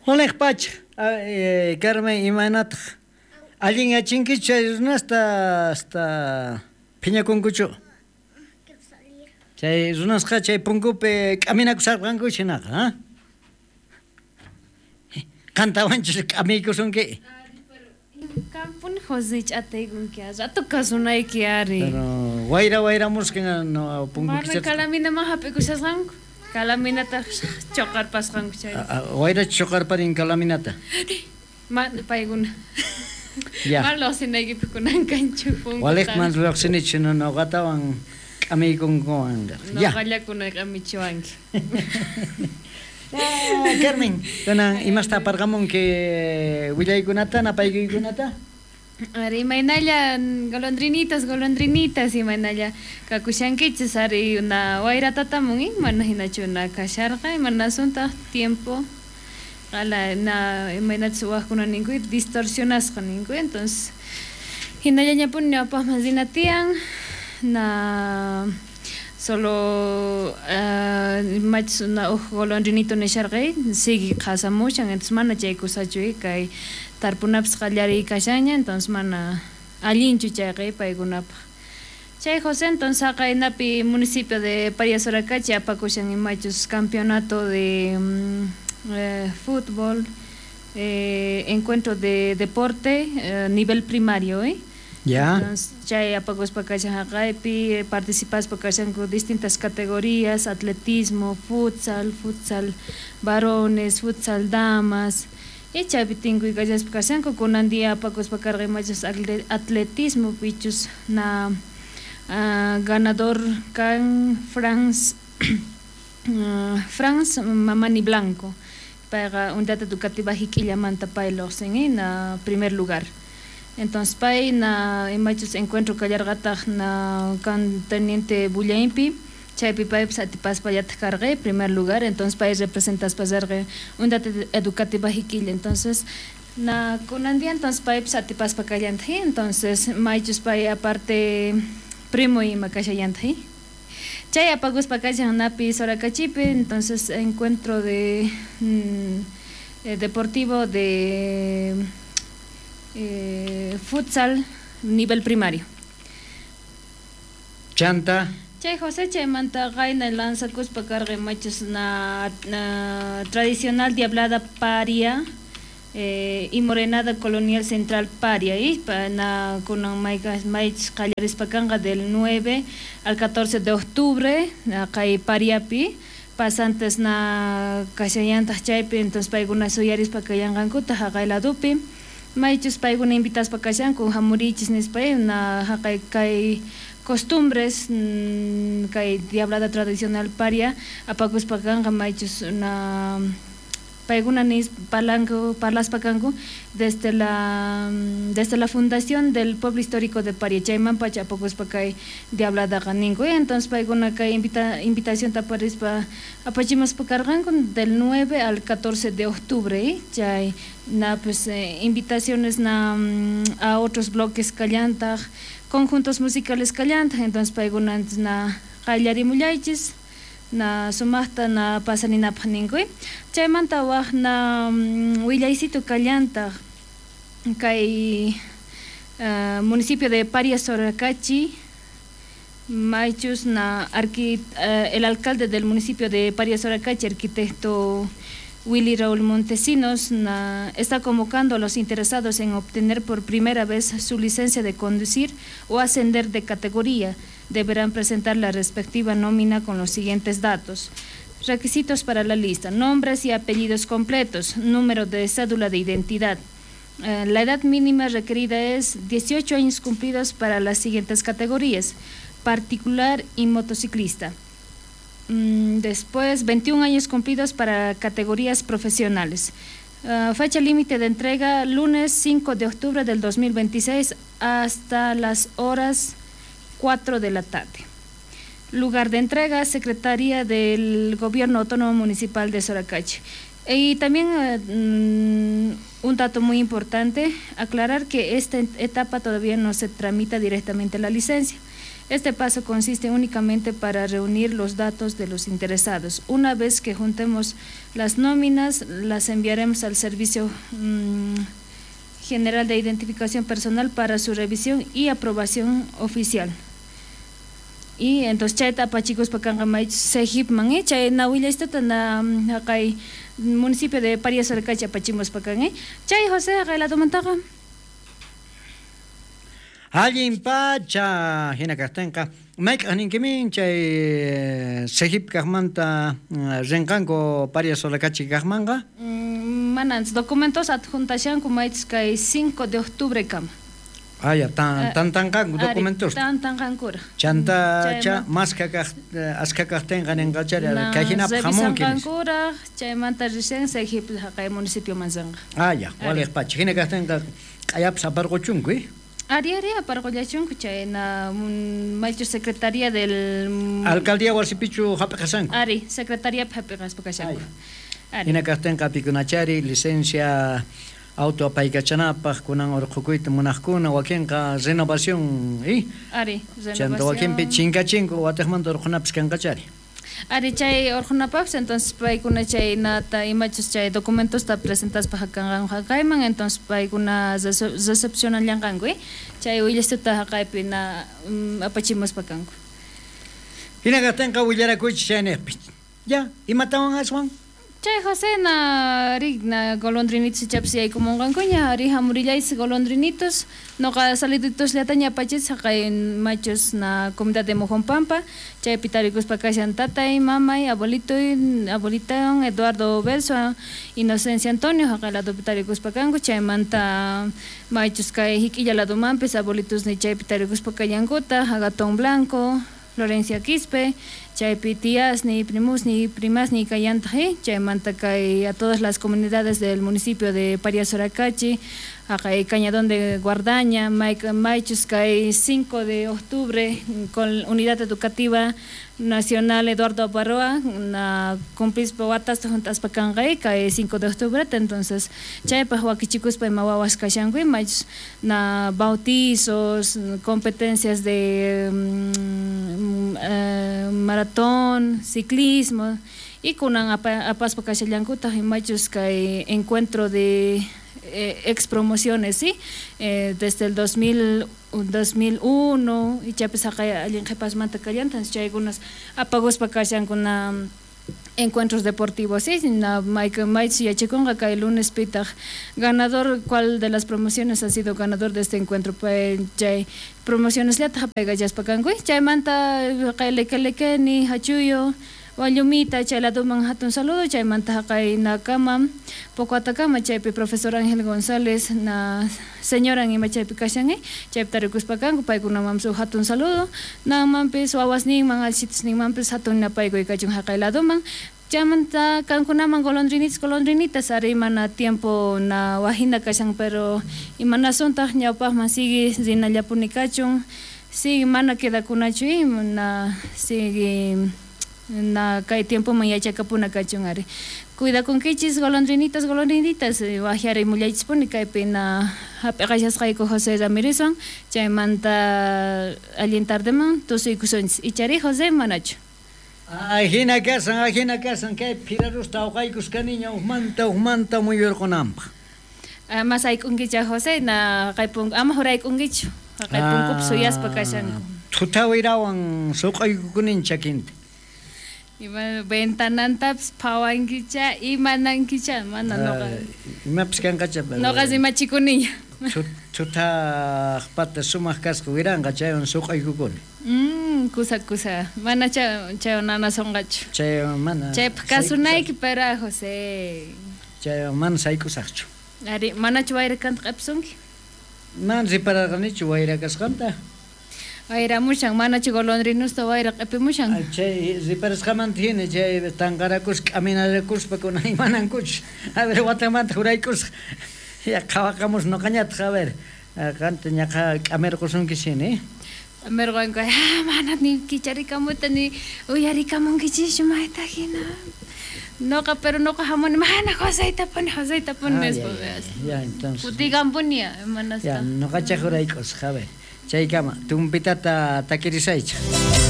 Waliq pacha, Carmen, imaynataq allinyachinkichu chay runasta hasta phiñakunkuchu? Chay runasqa chay punkupi k'aminakusharqanku hinaqa, ha? Qantawanchus k'amiykusunki? Qampuni José ch'ataykunki, rato kasunayki ari. Pero wayra wayramusqa no punku Mana kichasqa. calaminaman hap'ikushasqanku, calaminataq choqarpasqanku chay. Wayra choqarparin calaminata. Mana paykuna. Ya. Mana lluqsinaykipaq kunan kanchu punkuta. Waliqman lluqsinichu noqatawan k'amiykunkuwan. Ya. Noqallakuna k'amichiwanki. Carmen, kunan imasta aparqamunki willaykunata, napaykuykunata? Ari, imaynalla golondrinitas, golondrinitas, imaynalla kakushankichis, ari una wayratatamun, mana hinachu na kasharqa, imanasuntaq tiempo qala na imaynachus wajkuna ninku distorsionasqa ninku, entonces hinallañapuni ñawpaqman rina tiyan, na solo imachus una uj golondrinito nisharqay sigue qhasamushan, entonces mana chay kusachu kay tarpunapas qallariy kashanña, entonces mana allinchu chayqa paykunapaq. Chay José, entonces haqaynapi municipio de Paria Soracachi apakushan imachus campeonato de fútbol, encuentro de deporte nivel primario, Ya. Entonces, chay apakuspa kashan haqaypi, participaspa kashanku distintas categorías, atletismo, futsal, futsal varones, futsal damas, y chaypi tinkuy kallaspa kashanku, kunan día apakuspa karqa imachus atletismo pichus na ganador kan Franz Franz Mamani Blanco, payqa Unidad Educativa Jiquillamanta pay lluqsin, na primer lugar. Entonces pay na imachus encuentro kallarqataq na kan teniente Bullainpi, chaypi paypis atipaspallataq karqa primer lugar, entonces pay representaspa risqa Unidad Educativa Jiquilla, entonces na kunan día entonces paypis atipaspa kallantaq, entonces maychus pay aparte primo ima kashallantaq. Chay apakuspa kashan napi Soracachipi, entonces encuentro de deportivo de futsal nivel primario. Chanta. Chay José chaymanta qayna lanzakuspa karqa imachus na tradicional diablada paria y morenada colonial central paria, y na kunan maychus qallarispa kanqa del 9 al 14 de octubre kay pariapi pasantes na kashallantaq chaypi, entonces paykuna suyarispa kallanqankuta haqay ladupi maychus paykuna invitaspa kashanku hamurichis nispa na haqay kay costumbres kay diablada tradicional paria apakuspa kanqa maychus na paykuna nis parlanku parlaspa kanku desde la fundación del pueblo histórico de Paria chayman pacha apakuspa kay diabladaqa ninku, entonces paykuna kay invitación taparispa apachimuspa karqanku del 9 al 14 de octubre, chay na pues invitaciones na a otros bloques kallantaq conjuntos musicales kallantaq, entonces paykuna na qallarimullaychis na sumaqta na pasaninapaq ninku. Chaymanta waj na willaysitu kallantaq kay municipio de Paria Soracachi maychus na el alcalde del municipio de Paria Soracachi, arquitecto Willy Raúl Montesinos, na, está convocando a los interesados en obtener por primera vez su licencia de conducir o ascender de categoría. Deberán presentar la respectiva nómina con los siguientes datos. Requisitos para la lista: nombres y apellidos completos, número de cédula de identidad. La edad mínima requerida es 18 años cumplidos para las siguientes categorías: particular y motociclista. Después, 21 años cumplidos para categorías profesionales. Fecha límite de entrega, lunes 5 de octubre del 2026 hasta las horas 4 de la tarde. Lugar de entrega, Secretaría del Gobierno Autónomo Municipal de Soracachi. Y también un dato muy importante, aclarar que esta etapa todavía no se tramita directamente la licencia. Este paso consiste únicamente para reunir los datos de los interesados. Una vez que juntemos las nóminas, las enviaremos al Servicio General de Identificación Personal para su revisión y aprobación oficial. Y entonces chayta apachikuspa kanqa maychus CEGIPman, chay na willaystuta na haqay municipio de Paria Soracachi apachimuspa kan, Chay José haqay ladomantaqa. Allin pacha hina kaqtinqa mayk'aq ninkimin chay CEGIP kaqmanta rinqanku Paria Soracachi kaqmanqa? Mana documentos adjuntashanku maychus kay 5 de octubre kama. Ah, ya, tantanqanku documentos. Tantanqankura. Chanta cha maska kaq aska kaqtinqa ninqachari kay hinapaq hamunki. Revisanqankura chaymanta recién CEGIP haqay municipio mansanqa. Ah, ya, waliq pacha. Hina kaqtinqa q'ayapas aparquchunku, Ari ari aparqullachunku chay na maychu secretaría del Alcaldía wasipichu hap'iqasanku. Ari, secretaría hap'iqaspa kashanku. Ari. Hina kaqtinqa pikunachari licencia auto apaykachanapaq kunan urqhukuyta munaqkuna wakinqa renovación, Ari, renovación. Chanta wakinpi chinkachinku watiqmanta urqhunapis kanqachari. Ari chay urqhunapaqpis entonces paykuna chay nata imachus chay documentosta presentaspa hakanqanku haqayman entonces paykuna recepcionallanqanku, Chay willastuta haqaypi na apachimuspa kanku. Hina kaqtinqa willarakuychis chayniqpi. Ya, imatawan aswan? Chay José na ri na golondrinitos ichapis yaykumunqankuña ari hamurillaychis golondrinitos noqa saluditos llataña apachis haqay machus na comunidad de Mojonpampa chaypi tarikuspa kashan tatay mamay abuelitoy abuelitawan Eduardo Belso Inocencia Antonio haqay ladopi tarikuspa kanku chaymanta maychus kay hik'illa ladomanpis abuelitos ni chaypi tarikuspa kallankuta Agatón Blanco Florencia Quispe, chaypi tíasni, primusni, primasni kallantaq, chaymanta kay a todas las comunidades del municipio de Paria Soracachi, haqay Cañadón de Guardaña, maychus kay 5 de octubre con Unidad Educativa Nacional Eduardo Abaroa, na cumplispa watasta juntaspa kanqay kay 5 de octubre, entonces chaypaq wakichikuspa ima wawas kashanku maychus na bautizos, competencias de maratón, ciclismo y kunan apaspa kashallankutaq imachus kay encuentro de ex promociones, ¿sí? Desde el 2001 y chapis haqay allin qhipasmanta kallantan chaykunas apaguspa kashankuna encuentros deportivos, ¿sí? Na maychus yachakunqa kay lunes pitaq ganador, ¿cuál de las promociones ha sido ganador de este encuentro? Pues chay promociones llataq apaykallaspa kanku, chaymanta haqay Lekelekeni, Hachuyo, Wallumita, chay ladoman hatun saludo, chaymanta haqay nakama, Pocoatacama, chaypi profesor Ángel González, na señora ima chaypi kashan, chaypi tarikuspa kanku, paykunamanpis huk hatun saludo, namanpis wawasninman, allchitusninmanpis hatun napaykuy kachun haqay ladoman, chaymanta kankunaman golondrinitas, golondrinitas, ari mana tiempo na wajina kashan, pero imanasuntaq ñawpaqman sigue rinallapuni kachun, sigue mana quedakunachu, na sigue na kay tiempo man yachakapuna kachun ari. Cuidakunkichis golondrinitas, golondrinitas, wajyarimullaychispuni kaypi na hap'iqashasqayku José Ramírezwan, chaymanta allin tardeman tusuykusunchis. Ichari José manachu. Ay, hina kasan, kay phirarusta awqaykuskaniña uqmanta muyurqunanpaq. Mas ayk'unkicha José na haqaypun ama hurayk'unkichu, haqaypunkupi suyaspa kashanku. Thutawirawan suq'aykukunin chakinta. Ima ventanantapis phawankicha, imanankicha, mana noqa. Imapis kanqacha. Noqa rimachikuniña. Thutaqpata sumaq kasqa wiranqa chaywan suq'aykukuni. Kusa kusa, mana chaywan nanasunqachu. Chaywan mana. Chaypaq kasunayki para José. Chaywan mana saykusaqchu. Ari, manachu wayra kanta q'ipisunki? Mana ripararqanichu wayra kasqanta. Wayramushan, manachu golondrinusta wayra q'ipimushan. Chay riparasqamanta hina chay tanqarakuspa k'aminarakuspa kunan imanankuchus. A ver, watamanta huraykusqa. Ya qhawaqamus noqañataq, a ver, qanta ñaqa k'amirqusunki hina, K'amirqanku, mana ni kicharikamuta ni uyarikamunkichischu mayta hina. Noqa, pero noqa hamuni, mana Joseyta puni, Joseyta puni nispa. Ya, entonces. Kutikanpuni, manasqa. Ya, noqacha hurayk'usqa, a ver. Chaykama tumpitata takirisaychej.